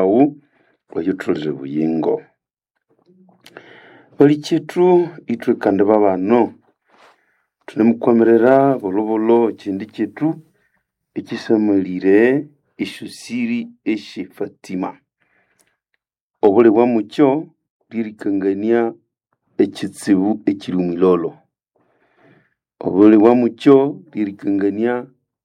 Wawu oyutholere buyingo. Balikyetu ithwe kandi babano thunemukwamirira bolhobolho ekyindi kyethu ekyisamalire esyosiri esye Fatima. Obuli bwamukyo lyerikangania ekyitsibu ekyiri omwilholo. Obuli bwamukyo lyerikangania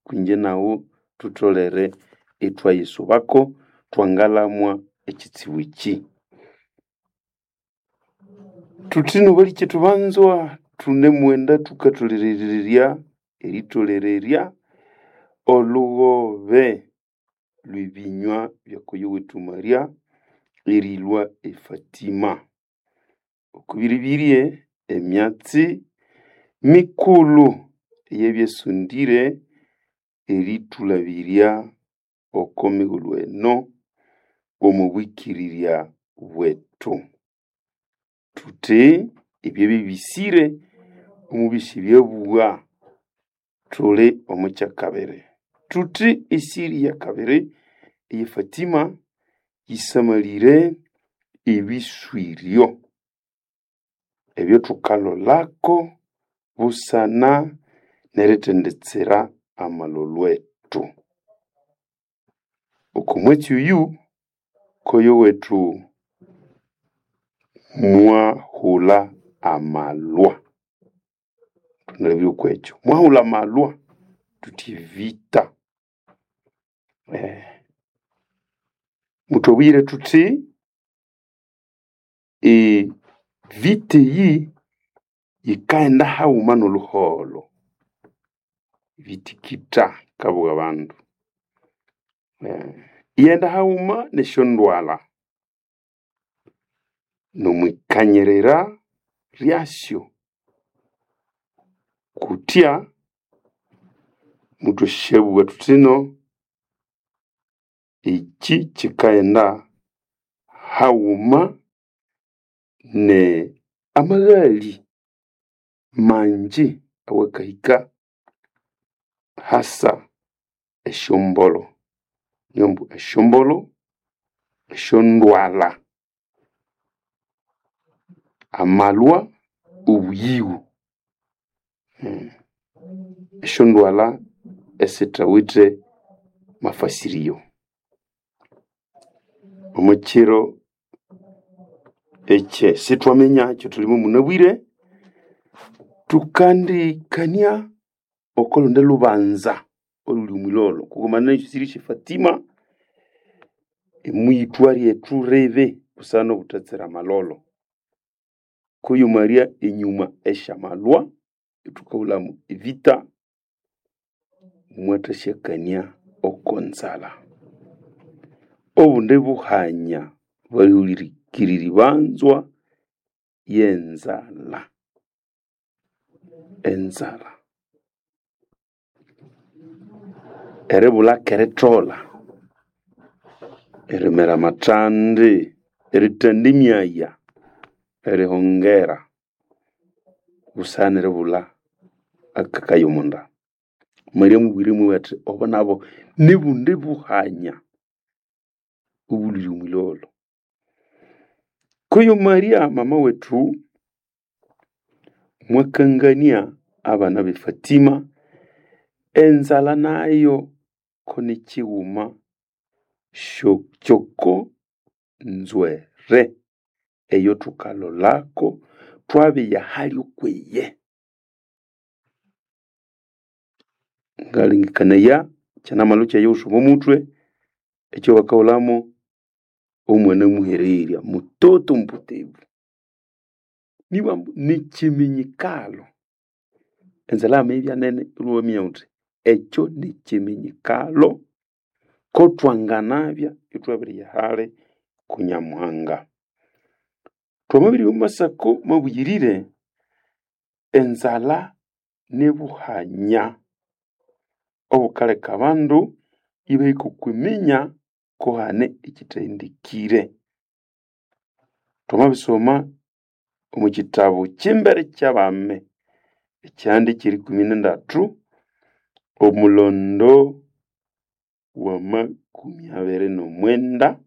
kwinje naghu thutholere ithwayisubako thwangalamwa ekyitsibu ekyi. Thuthino balikyetu banzwa thunemughenda thukatholererya eritholererya olhughobe lhwebinywa byakoyo wethu Maria erilhwa e Fatima. Okwibiribirye emyatsi mikulhu eyabyasondire erithulabirya oko mighulhu eno omo bwikirirya bwethu. Thuthi ebyabya bisire omubisi byabugha thuli omo kyakabiri. Thuthi esiri yakabiri eye Fatima yisamalire ebiswiryo ebyathukalolalko busana nerithenditsira amalholho ethu. Oko mwatsi oyu koyo wethu mwahulha amalhwa. Thunalabire okwekyo. Mwahulha amalhwa thuthi evita. Muthwabuyire thuthi evita eyi yikaghenda haghuma nolhuholho. Bitikitha kabugha abandu. Iyaghenda haghuma nesyondwalha nomwikanyirira lyasyo kutya muthwasyabugha thuthino ekyi kyikaghenda haghuma ne amaghali mangi awakahika hasa esyombolho. Niyo ambu esyombolho, esyondwalha, amalhwa, obuyighu. Esyondwalha esithawithe mafasirio. Omukyiro ekye sithwaminya ekyathulimo munabwire, thukandikania oko lundi lhubanza olhuli omwilholo kughumana nesyosiri sye Fatima omwiyithwa lyethu libi busana nobuthatsira amalholo. Kuyu Maria enyuma esyamalhwa ithukahulhamu evita mwathasyakania oko nzalha. Obundi buhanya balihulirikiriri banzwa yenzalha. Enzalha. Eribulha keritholha, erimera amathandi, erithanda emyaya, erihongera busana neribulha akakayo omonda. Maria mubwire mwabugha athi obo nabo nibundi buhanya obulhwire omwilholo. Kuyu Maria mama wethu mwakangania abana be Fatima enzalha nayo ko nikyighuma kyoko nzwere eyathukalholako thwabiya hali okwiye. Ngalengekanaya kyanamalhwa kyaghe omo muthwe ekyabakahulhamo omwana muhererya mutoto mupotevu. Nibwa ambu nikyiminyikalo. Enzalha yamabibya nene iwaminya ghuthi ekyo nikyiminyikalo kothwanganabya ithwabiriya hali ku Nyamuhanga. Thwamabiribya omo Masako mabuyirire, enzalha nibuhanya obukaleka abandu ibahika okwiminya kuhane ekyithahendekire. Thwamabisoma omo kyitabu kyimbere kyabami ekyihanda ekyerikumi nindatu omulondo wa makumi abiri nomwenda.